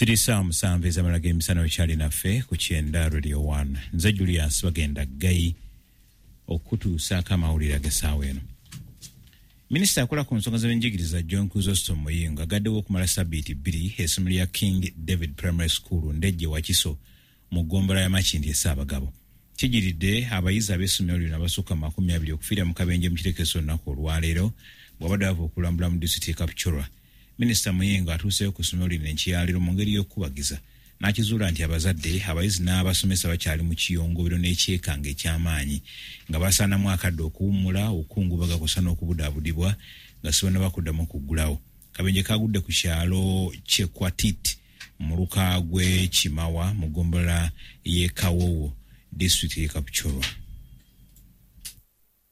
Ziri ssaawa 7 ez'amala g'emisana, okyali naffe ku Kyenda Radio 1. Nze Julius Bagenda Ggayi okutuusaako amawulire ag'essaawa eno. Minisita akola ku nsonga z'ebyenjigiriza John Chrysostom Muyingo agaddewo okumala sabbiiti 2 essomero lya King David Primary School Ndejje Wakiso mu ggombolola ya Makindye Ssaabagabo. Kijiridde abayizi ab'essomero lino abasukka mu 20 okufiira mu kabenje mu kirekeso olunaku olwaleero bw'abadde bava okulambula mu disitulikiti y'e Kapchorwa. Minisita Muyingo atuuseeyo ku ssomero lino enkya mu ngeri y'okukubagiza n'akizuula nti abazadde, abayizi n'abasomesa bakyali mu kiyongobero n'ekyekanga eky'amaanyi nga basaanamu akadde okuwummula, okukungubaga kw'ossa n'okubudaabudibwa nga si bonna bakuddamu okuggulawo. Kabenje kagudde ku kyalo Kyekwatit mu muluka gw'e Kimawa mu ggombolola y'e Kawowo, disitulikiti y'e Kapchorwa.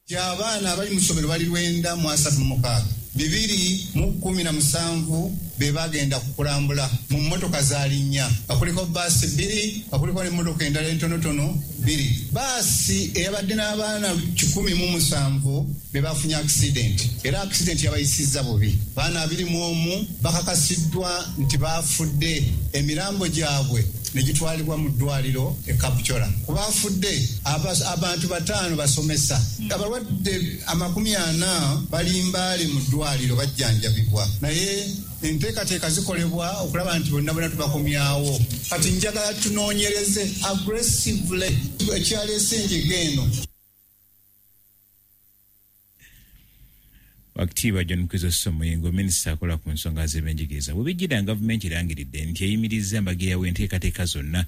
Abaana abali mu ssomero bali 936, 217 be bagenda kukulambula mu mmotoka zaali 4, nga kuliko baasi 2, nga kuliko n'emmotoka endala entonotono 2. Baasi eyabadde n'abaana 107 be bafunye accident, era accident yabayisizza bubi. Baana 21 bakakasiddwa nti baafudde, emirambo gyabwe ne gitwalibwa mu ddwaliro e Kapchorwa. Ku baafudde abantu 5 basomesa, abalwadde 40 bali Mbale mu ddwaliro bajjanjabibwa, naye enteekateeka zikolebwa okulaba nti bonna bonna tubakomyawo. Kati njagala tunoonyereze aggressively ekyaleese enjega eno. Wakitiibwa John Chrysostom Muyingo, minisita akola ku nsonga z'ebyenjigiriza. Bwe bijjira gavumenti erangiridde nti eyimirizza embagirawo enteekateeka zonna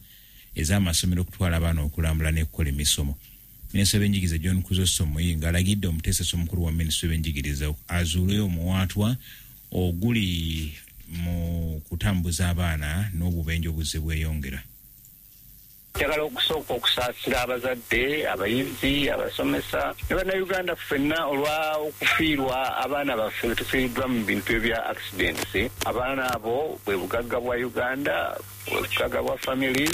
ez'amasomero okutwala abaana okulambula n'ekukola emisomo. Minisita w'ebyenjigiriza John Chrysostom Muyingo alagidde omuteesesa omukulu wa minisitule w'ebyenjigiriza azuuleyo omuwaatwa oguli mu kutambuza abaana n'obubenje obuzze bweyongera. Njagala okusooka okusaasira abazadde, abayizi, abasomesa ne Bannayuganda ffenna olwa okufiirwa abaana baffe be tufiiriddwa mu bintu ebya accidents. Abaana abo bwe bugagga bwa Uganda, bwe bugagga bwa families.